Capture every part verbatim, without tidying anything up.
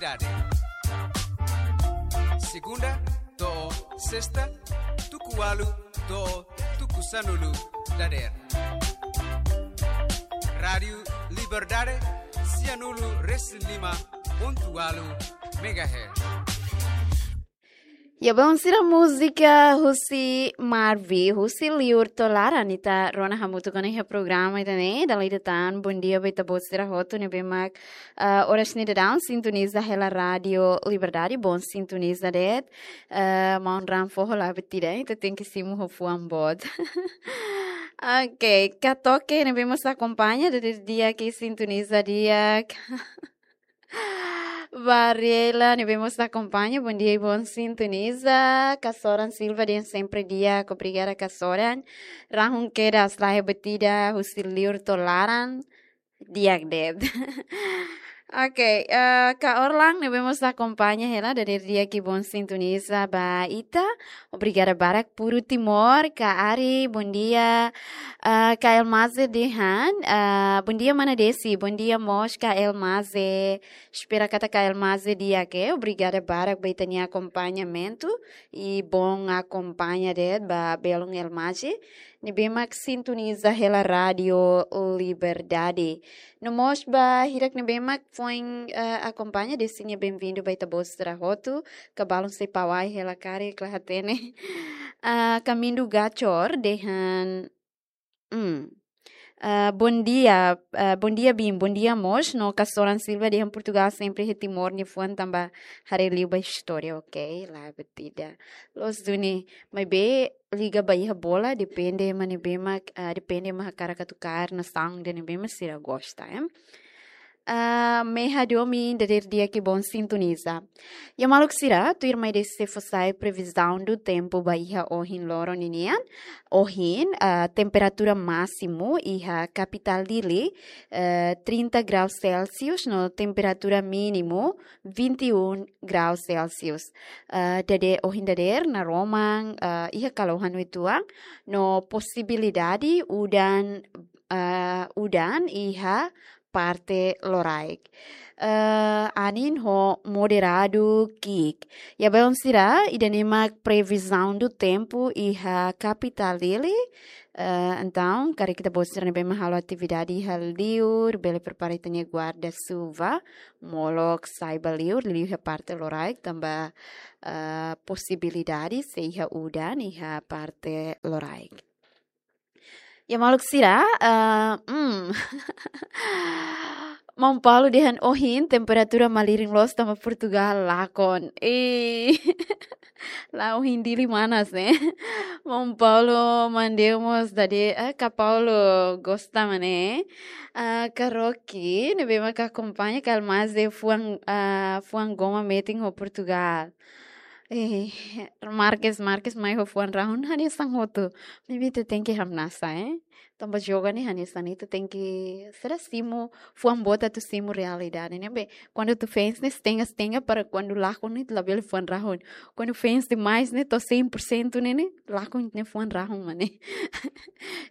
Liberdade. Segunda to'o sesta, tuku ualu to'o tuku sanulu dadeer. Rádiu Liberdade, sianulu resin lima pontu ualu megahertz. Ya, bom, sira múzika husi Marvi, husi liur to'o laran, ita rona hamutuk ona iha programa ida-ne'e, dala ida tan, bom dia ba ita-boot sira hotu ne'ebé mak, ah, oras ne'e daudaun sintoniza hela Rádiu Liberdade, bom sintoniza de'it, ah, maun-raan foho la buat ida, ita tenke simu ho fuan boot. Ok, Katoke ne'ebé mós akompaña, dadeer di'ak sintoniza di'ak. Varela, ne'ebé mós akompaña, bom dia i bom sintoniza. Kasoran Silva dehan sempre di'ak, obrigada Kasoran. Rahun kedas, laiha buat ida, husi liur to'o laran, di'ak de'it. Ok, eh, Ka Orlan, ne'ebé mós akompaña hela, dadeer di'ak i bom sintoniza ba ita. Obrigada barak, Puru Timor, Ka Ari, bom dia. Ah, Ka Elmaze dehan, ah, bom dia, mana Desi, bom dia mós, Ka Elmaze. Espera katak Ka Elmaze di'ak, obrigada barak ba ita-nia akompañamentu i bom akompaña de'it ba belun Elmaze ne'ebé mak sintoniza hela Rádiu Liberdade. No mós ba hirak ne'ebé mak foin, eh, akompaña, Desi nia bem-vindo ba ita-boot sira hotu, kabalun sei pawai hela karik la hatene. Ah, Kamindu Gachor dehan, hmm. Ah, bom dia, ah, bom dia Bim, bom dia mós, no Kasoran Silva dehan Portugal sempre iha Timor nia fuan tanba haree liu ba istória, ok, la buat ida. Loos duni, maibé liga ba iha bola, depende ema ne'ebé mak, ah, depende ema hakarak atu kaer nasaun ida ne'ebé mak sira gosta, eh. Ah, Meha Domi, dadeer di'ak i bom sintoniza. Ya maluk sira, tuirmai Desi sei fó sai previsão do tempo ba iha ohin loron ninian. Ohin, ah, temperatura másimu iha kapitál Dili, eh, trinta graus Celsius, no temperatura mínimu vinte e um graus Celsius. Ah, dadeer, ohin dadeer naroman, ah, iha kalohan uitoan, no posibilidade udan, ah, udan iha parte loraik. Eh, anin ho moderadu ki'ik. Ya belun sira, ida-ne'e mak previsão do tempo iha kapitál Dili. Eh, entaun, karik ita-boot sira ne'ebé mak halo atividade iha liur, bele prepara ita-nia guarda-chuva, molok sai ba liur, liu iha parte loraik, tanba, eh, posibilidade sei iha udan iha parte loraik. Ya maluk sira, eh, hmm. Maun Paulo dehan ohin temperatura malirin loos tanba Portugal lakon. Eh. La ohin Dili manas ne'e. Maun Paulo Mandeu mós dadeer, eh, Ka Paulo gosta mak ne'e. Ah, Ka Rocky, ne'ebé mak akompaña, Ka Elmaze fuan, ah, fuan goma metin ho Portugal. Eh, Marques, Marques mai ho fuan rahun, hanesan hotu. Maibé ita tenke hamnasa, eh. Tanba joga ne'e hanesan ne'e, ita tenke, sira simu, fuan boot atu simu realidade ne'ebé. Kuandu atu fans ne'e setengah-setengah para kuandu lakon ne'e labele fuan rahun. Kuandu fans demais ne'e to'o cem por cento ne'e, ne'e lakon ne'e fuan rahun mak ne'e.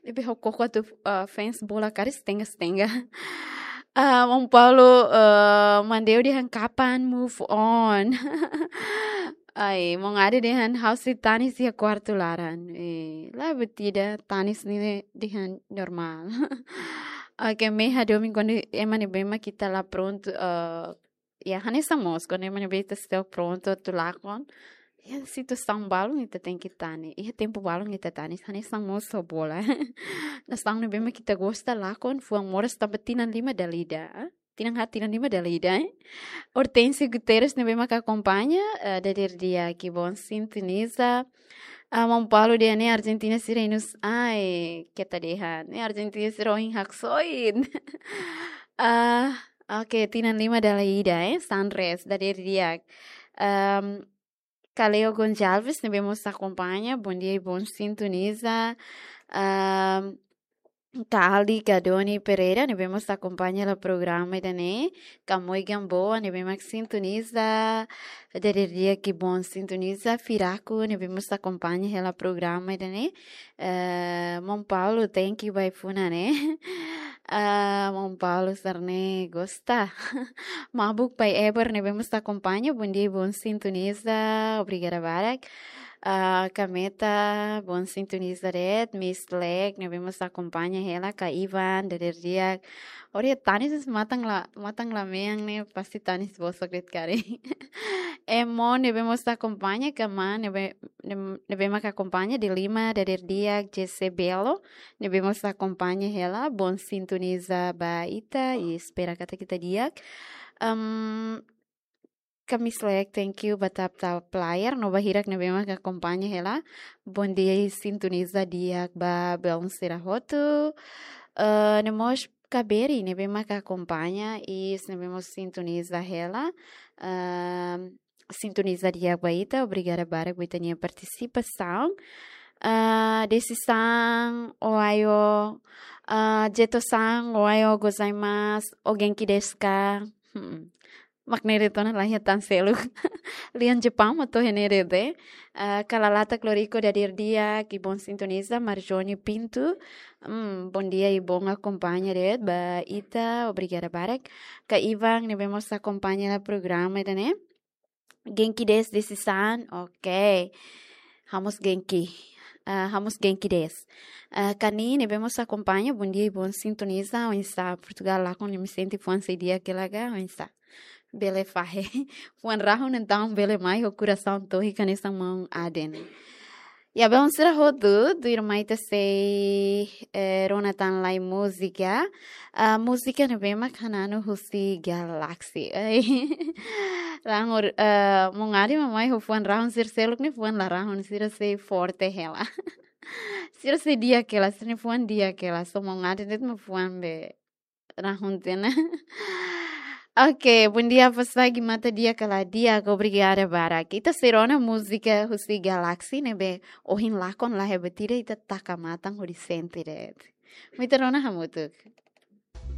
Ne'ebé ha'u koko atu, ah, fans bola karik setengah-setengah. Ah, Maun Paulo, ah, Mandeu dehan kapan move on. Ai, Maun Ade dehan ha'u sei tanis iha kuartu laran. Eh, la buat ida, tanis ne'e dehan normál. Ok, Meha Domi, kuandu ema ne'ebé mak ita la prontu, eh, ya, hanesan mós, kuandu ema ne'ebé ita seidauk prontu atu lakon, iha situasaun balun ita tenke tanis, iha tempu balun ita tanis, hanesan mós ho bola. Nasaun ne'ebé mak ita gosta lakon, fuan moras tanba tinan lima dala ida, eh? Tinan haat, tinan lima dala ida, eh? Hortêncio Guterres ne'ebé mak akompaña, eh, dadeer di'ak i bom sintoniza. Ah, Maun Paulo dehan ne'e Argentina sira inus, ai, keta dehan, ne'e Argentina sira ohin haksoit. Ah, ok, tinan lima dala ida, eh, Sunrise, dadeer di'ak. Ahm, Kaleo Gonçalves, ne'ebé mós akompaña, bom dia i bom sintoniza. Ahm, Ka Aldi, Ka Doni Pereira, ne'ebé mós akompaña hela programa ida-ne'e. Ka Moi Gamboa, ne'ebé mak sintoniza, dadeer di'ak i bom sintoniza. Firaku, ne'ebé mós akompaña hela programa ida-ne'e. Eh, Maun Paulo, thank you ba ai-funan ne'e. Ah, Maun Paulo Sarne gosta. Mabuk Pai Eber ne'ebé mós akompaña, bondia i bon sintoniza, obrigada barak. Ah, Kameta, bon sintoniza de'it, Miss Leg ne'ebé mós akompaña hela, Ka Ivan, dadeer di'ak. Ori tanis matan la, matan la mean ne'e, pasti tanis bosok de'it karik. Emo ne'ebé mós akompaña, Kama ne'ebé, ne'ebé, ne'ebé mak akompaña, Delima, dadeer di'ak, Jesse Belo, ne'ebé mós akompaña hela, bon sintoniza ba ita, i espera katak ita di'ak. Em, Ka Miss Leg, thank you, ba tap tap player, no ba hirak ne'ebé mak akompaña hela, bondia i sintoniza di'ak ba belun sira hotu. Eh, no mós Ka Beri, ne'ebé mak akompaña, i ne'ebé mós sintoniza hela, em, sintoniza di'ak ba ita, obrigada barak ba ita-nia partisipasaun. Ah, Desi-san, ohayo, ah, Jeto-san, ohayo gozaimasu, o genki desu ka? Hmm. Mak ne'e de'it ona, la iha tan seluk. Lian Jepaun mak to'o iha ne'e de'it. Ah, Kalalatak Lorico, dadeer di'ak i bon sintoniza, Marjone Pinto. Hmm, bondia i bon akompaña de'it ba ita, obrigada barak. Ka Ivan ne'ebé mós akompaña hela programa ida-ne'e. Genki desu Desi-san, ok. Ha'u mós genki. Ah, ha'u mós genki desu. Ah, Kani ne'ebé mós akompaña, bondia i bon sintoniza, oinsá Portugal lakon, imi sente fuan sei di'ak hela ka, oinsá? Bele fahe. Fuan rahun entaun bele mai ho korasaun tohik hanesan maun Aden. Ya, belun sira hotu, tuirmai ita sei, eh, rona tan lai múzika. Ah, múzika ne'ebé mak hananu husi Galaxy. Ai. Rahun, eh, maun Aden mak mai ho fuan rahun, sira seluk ne'e fuan la rahun, sira sei forte hela. Sira sei di'ak hela, sira-nia fuan di'ak hela, só maun Aden de'it mak fuan be rahun tiha ona. Ok, bondia, Pasagi, mata di'ak ka la di'ak, obrigada barak. Ita sei rona múzika husi Galaxy ne'ebé ohin lakon la hebat ida, ita taka matan hodi sente de'it. Mai ita rona hamutuk.